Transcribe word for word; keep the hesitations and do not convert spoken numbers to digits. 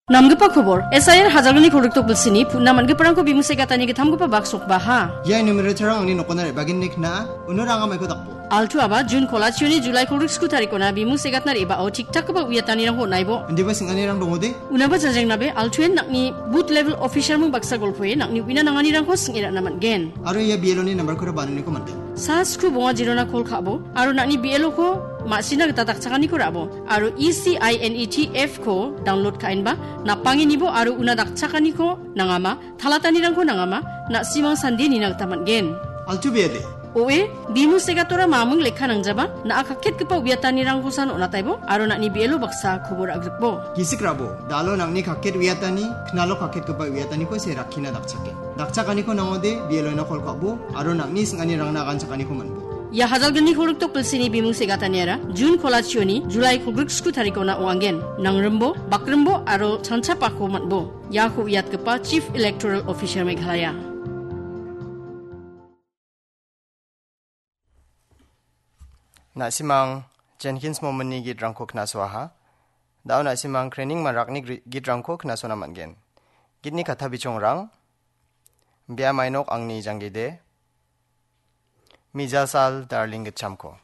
Namgipa kobor, S I R Hajalgni kolgrikdok bilsini putna man·giparangko bimu segatani gittamgipa bak sokbaha. Ia numerator-rang angni nokona re·bagenni kna·a, uno ranga maiko dakbo. Altu aba Jun kolachioni Julai kolgrik sku tarikona bimu segatna re·bao tik-takgipa uiatanirangko on·aibo. Indiba sing·anirang dongode? Unaba jajengnabe, Altuen nang·ni booth level officer-ming baksa golpoe nang·ni uina nanganirangko sing·e ra·na man·gen. Aro ia B L O-ni nambarkora banoniko man·gen. Sa sku bonga jirona kol ka·bo, aro nang·ni B L O-ko ma·sina gita dakchakaniko ra·bo, aro E C I N E T F-ko download ka·enba, napangenibo aro una dakchakaniko nangama, talatanirangko nangama, na·simang sandie nina gita man·gen. Altu biade. Oe, bimu segatora maming lekka nangjaba, na·a kaketgipa uiatanirangkosan on·ataibo, aro nang·ni B L O baksa kobor agrikbo. Gisik rabo, dalo nang·ni kaket uiatani, knalo kaketgipa uiataniko se rakkina dakchake. Dakchakaniko nangode, B L O-na kol ka·bo, aro nang·ni sing·anirangna aganchakaniko man·bo. Ia Hajalgni kolgrikdok bilsini bimu segataniara, Jun kolachioni, Julai kolgrik sku tarikona ong·angen. Nangrimbo, bakrimbo, aro chanchapako man·bo. Iako uiatgipa Chief Electoral Officer Meghalaya. Na·simang Jenkins Momini gitrangko knasoaha. Da·o na·simang Krening Marakni gri-, gitrangko knasona man·gen. Gitni katta bichongrang, Bia Mainok Angni Janggide, Mijasal Darling Gitchamko.